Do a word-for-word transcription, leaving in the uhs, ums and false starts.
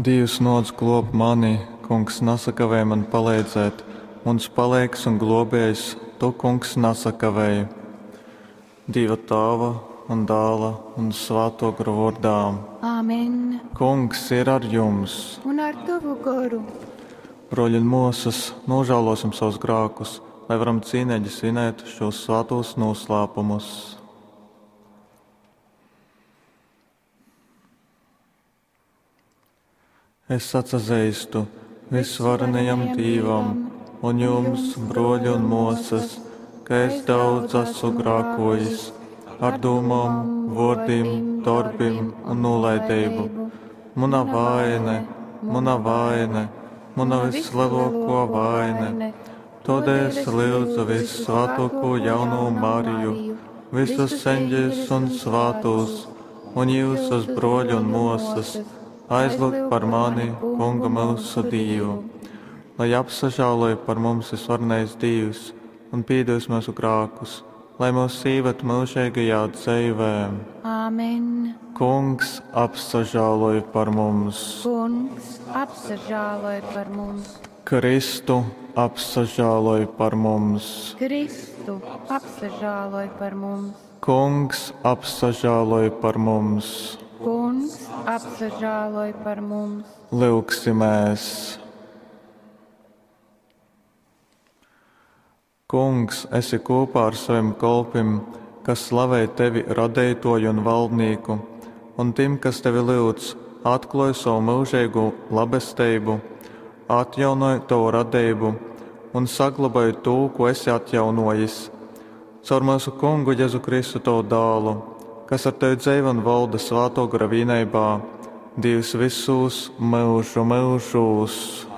Dīvs, nōc glōb mani, Kungs, nasakavej man paleidzēt, muns paleigs un glōbējs, tu, Kungs, nasakavej. Dīva Tāva un Dāla un Svātō Gora vōrdā. Āmen. Kungs ir ar jums. Un ar tovu goru. Brōļi un mōsas, nožēlosim savus grākus, lai varam cīneigi svinēt šos svātos noslēpumus. Es atsazeistu visvarenajam Dīvam un jums, brōļi un mōsas, ka es daudz esmu grākojis ar dūmām, vōrdim, dorbim un nolaidību. Muna vaine, muna vaine, muna vislielākā vaine. Tādēļ es lūdzu vissvētāko jauno Mariju, visus eņģeļus un svētos, un jūsus brōļi un māsas, aizlūgt par mani, Kungu mūsu Dievu, lai apsažāloja par mums visvarenais Dievs un piedos mūsu grākus, lai mūs īved mūžīgajā dzīvē. Āmen. Kungs apsažāloja par mums. Kungs apsažāloja par mums. Kristu apsažāloj par mums. Kristu apsažāloj par mums. Kungs apsažāloj par mums. Kungs apsažāloj par mums. Lūgsimies! Kungs, esi kopā ar saviem kolpim, kas slavē tevi radeitoju un valdnieku, un tim, kas tevi lūdz, atklāj savu mūžīgo labestību, atjaunoj tavu radību un saglabāj to, ko esi atjaunojis. Caur mūsu kungu Jēzu Kristu tavu dālu, kas ar tevi dzīvo un valda Svāto gara vienībā, Dievs visus mūžu mūžos.